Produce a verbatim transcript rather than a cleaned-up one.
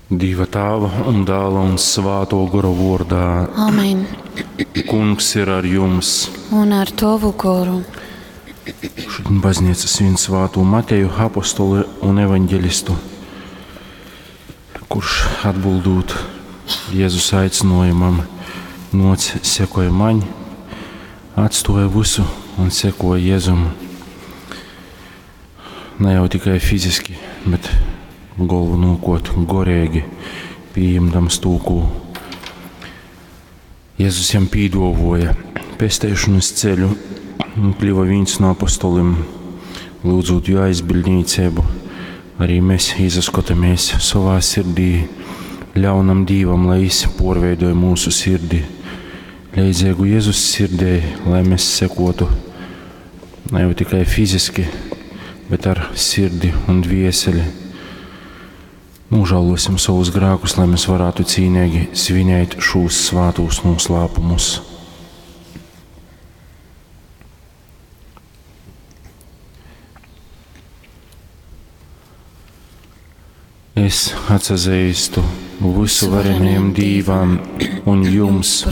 Dīva Tāva un Dāla un Svātō Gora vōrdā. Amen. Kungs ir ar jums. Un ar tovu goru. Šodien baznīca svin svātū Mateju, apostoli un evaņģelistu, kurš atbildot Jēzus aicinājumam, noc sekoja maņ, atstoja visu un sekoja Jēzum. Ne jau tikai fiziski, bet galvenokārt gorīgi, pieņemdams to, ko Jēzus jam pīdovoja pesteišanas ceļu un kļuva viens no apostolim, lūdzot jo aizbildniecību. Arī mēs izaskotamies savā sirdī, ļaunam Dīvam, lai viņš porveidoja mūsu sirdi. Leidzīgu Jēzus sirdī, lai mēs sekotu ne jau tikai fiziski, bet ar sirdi un dvieseli. Nožēlosim savus grēkus, lai mēs varētu cīnīgi svinēt šos svātos noslēpumus. Es atsazīstu visu varenajam Dīvam un jums,